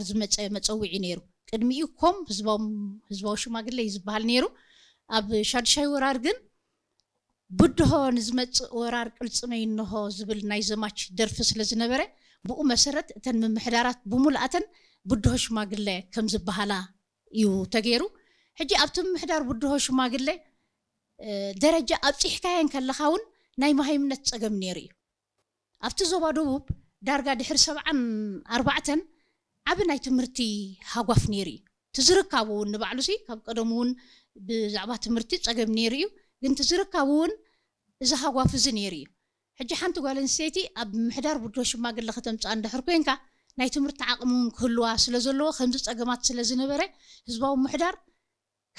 ዝመፀ መፀውዒ ነይሩ። ቅድሚኡ ኮም ህዝባዊ ሽማግለ እዩ ዝበሃል ነይሩ። ኣብ ሻዱሻይ ወራር ግን ብድሆ ንዝመፅእ ወራር ቅልፅመይ እንሆ ዝብል ናይ ዘማች ደርፊ ስለ ዝነበረ፣ ብኡ መሰረት እተን ምምሕዳራት ብሙሉኣተን ብድሆ ሽማግለ ከም ዝበሃላ እዩ ተገይሩ። ሕጂ ኣብቲ ምምሕዳር ብድሆ ሽማግለ ደረጃ ኣብፂሕካየን ከለኻ እውን ናይ መሃይምነት ፀገም ነይሩ እዩ። ኣብቲ ዞባ ደቡብ ዳርጋ ድሕሪ ሰብዓን ኣርባዕተን ዓቢ ናይ ትምህርቲ ሃጓፍ ነይሩ እዩ። ትዝርካቡ እውን ንባዕሉ ሲ ካብ ቀደሙ እውን ብዛዕባ ትምህርቲ ፀገም ነይሩ እዩ። ግን ትዝርካቡ እውን እዚ ሃጓፍ እዚ ነይሩ እዩ። ሕጂ ሓንቲ ጓል ኣንስተይቲ ኣብ ምሕዳር ብድሆ ሽማግለ ከተምፅኣ እንድሕር ኮንካ ናይ ትምህርቲ ዓቕሚ እውን ክህልዋ ስለ ዘለዎ ከምዚ ፀገማት ስለ ዝነበረ ህዝባዊ ምሕዳር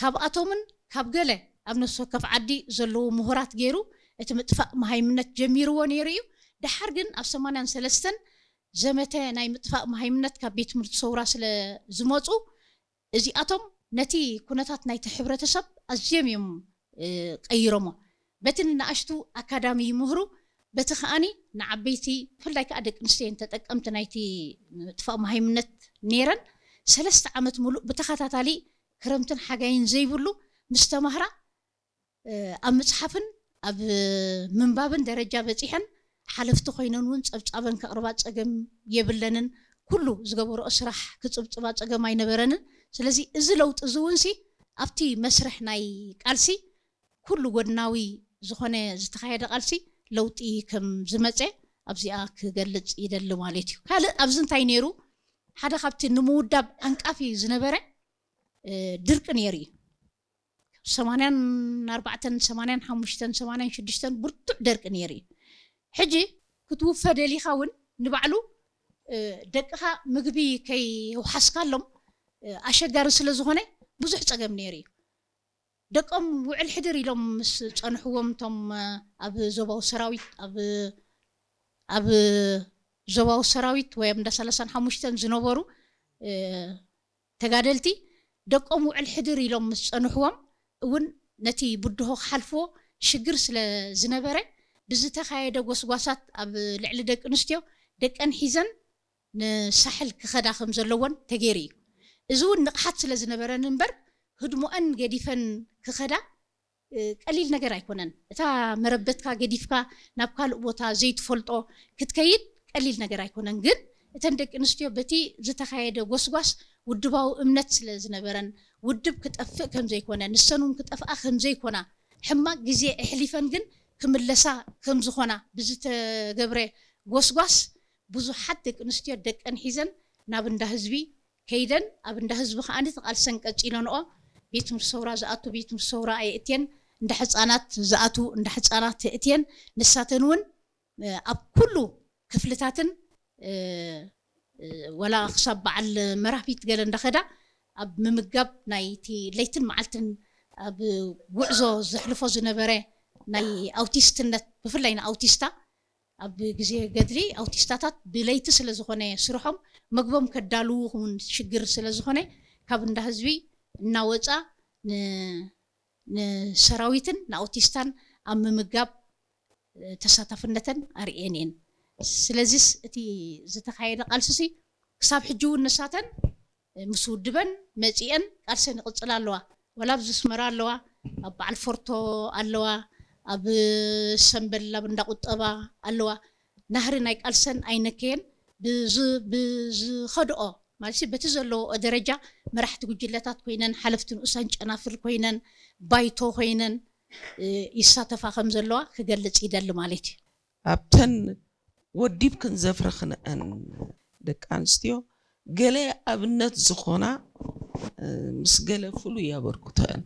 ካብኣቶምን ካብ ገለ ኣብ ነፍሲ ወከፍ ዓዲ ዘለዉ ምሁራት ገይሩ እቲ ምጥፋእ መሃይምነት ጀሚርዎ ነይሩ እዩ። ደሓር ግን ኣብ ሰማንያን ሰለስተን ዘመተ ናይ ምጥፋእ መሃይምነት ካብ ቤት ትምህርቲ ሰውራ ስለ ዝመፁ እዚኣቶም ነቲ ኩነታት ናይቲ ሕብረተሰብ ኣዝዮም እዮም ቀይሮሞ። በቲ ንኣሽቱ ኣካዳሚ ይምህሩ፣ በቲ ከኣኒ ንዓበይቲ ብፍላይ ከዓ ደቂ ኣንስትዮ ተጠቀምቲ ናይቲ ምጥፋእ መሃይምነት ነይረን። ሰለስተ ዓመት ሙሉእ ብተኸታታሊ ክረምትን ሓጋይን ዘይብሉ ምስ ተማህራ ኣብ ምፅሓፍን ኣብ ምንባብን ደረጃ በፂሐን ሓለፍቲ ኮይነን እውን ፀብፃበን ከቕርባ ፀገም የብለንን። ኩሉ ዝገበረኦ ስራሕ ክፅብፅባ ፀገም ኣይነበረንን። ስለዚ እዚ ለውጢ እዚ እውን ሲ ኣብቲ መስርሕ ናይ ቃልሲ ኩሉ ጎድናዊ ዝኾነ ዝተኻየደ ቃልሲ ለውጢ ከም ዝመፀ ኣብዚኣ ክገልፅ ይደሊ ማለት እዩ። ካልእ ኣብዚ እንታይ ነይሩ? ሓደ ካብቲ ንምውዳብ ኣንቃፊ ዝነበረ ድርቂ ነይሩ እዩ። ሰማንያን ኣርባዕተን ሰማንያን ሓሙሽተን ሰማንያን ሽዱሽተን ብርቱዕ ደርቂ ነይሩ እዩ። ሕጂ ክትውፈ ደሊኻ እውን ንባዕሉ ደቅኻ ምግቢ ከይውሓስካሎም ኣሸጋሪ ስለ ዝኾነ ብዙሕ ፀገም ነይሩ እዩ። ደቆም ውዕል ሕድር ኢሎም ምስ ፀንሕዎም እቶም ኣብ ዞባዊ ሰራዊት ኣብ ዞባዊ ሰራዊት ወይ ኣብ እንዳ ሰላሳን ሓሙሽተን ዝነበሩ ተጋደልቲ ደቆም ውዕል ሕድር ኢሎም ምስ ፀንሕዎም እውን ነቲ ብድሆ ክሓልፍዎ ሽግር ስለ ዝነበረ ብዝተኻየደ ጎስጓሳት ኣብ ልዕሊ ደቂ ኣንስትዮ ደቀን ሒዘን ንሳሕል ክኸዳ ከም ዘለዎን ተገይሩ እዩ። እዚ እውን ንቕሓት ስለ ዝነበረን እምበር ህድሞአን ገዲፈን ክኸዳ ቀሊል ነገር ኣይኮነን። እታ መረበትካ ገዲፍካ ናብ ካልእ ቦታ ዘይትፈልጦ ክትከይድ ቀሊል ነገር ኣይኮነን። ግን እተን ደቂ ኣንስትዮ በቲ ዝተኻየደ ጎስጓስ ውድባዊ እምነት ስለ ዝነበረን ውድብ ክጠፍእ ከም ዘይኮነ ንሰን እውን ክጠፍኣ ከም ዘይኮና ሕማቕ ግዜ ኣሕሊፈን ግን ክምለሳ ከም ዝኾና ብዝተገብረ ጎስጓስ ብዙሓት ደቂ ኣንስትዮ ደቀን ሒዘን ናብ እንዳ ህዝቢ ከይደን ኣብ እንዳ ህዝቢ ከዓኒ ተቓልሰን ቀፂለንኦ። ቤት ትምህርቲ ሰውራ ዝኣቱ ቤት ትምህርቲ ሰውራ ኣየእትየን፣ እንዳ ሕፃናት ዝኣቱ እንዳ ሕፃናት የእትየን። ንሳተን እውን ኣብ ኩሉ ክፍልታትን ወላ ክሳብ በዓል መራፊት ገለ እንዳኸዳ ኣብ ምምጋብ ናይቲ ለይትን መዓልትን ኣብ ጉዕዞ ዘሕልፎ ዝነበረ ናይ ኣውቲስትነት ብፍላይ ንኣውቲስታ ኣብ ግዜ ገድሊ ኣውቲስታታት ብለይቲ ስለ ዝኾነ ስርሖም መግቦም ከዳልዉ እውን ሽግር ስለ ዝኾነ ካብ እንዳ ህዝቢ እናወፃ ንሰራዊትን ንኣውቲስታን ኣብ ምምጋብ ተሳታፍነተን ኣርእየን እየን። ስለዚስ እቲ ዝተኻየደ ቃልስሲ ክሳብ ሕጂ እውን ንሳተን ምስ ውድበን መፂአን ቃልሰን ይቕፅላ ኣለዋ። ወላ ኣብዚ ኣስመራ ኣለዋ፣ ኣብ በዓል ፎርቶ ኣለዋ፣ ኣብ ሰምበል ኣብ እንዳ ቁጠባ ኣለዋ። ናህሪ ናይ ቃልሰን ኣይነከየን። ብዝኸድኦ ማለት በቲ ዘለዎኦ ደረጃ መራሕቲ ጉጅለታት ኮይነን ሓለፍቲ ንኡሳን ጨናፍር ኮይነን ባይቶ ኮይነን ይሳተፋ ከም ዘለዋ ክገልፅ ይደሊ ማለት እዩ። ኣብተን ወዲብክን ዘፍረኽንአን ደቂ ኣንስትዮ ገለ ኣብነት ዝኾና ምስ ገለ ፍሉይ ኣበርክቶአን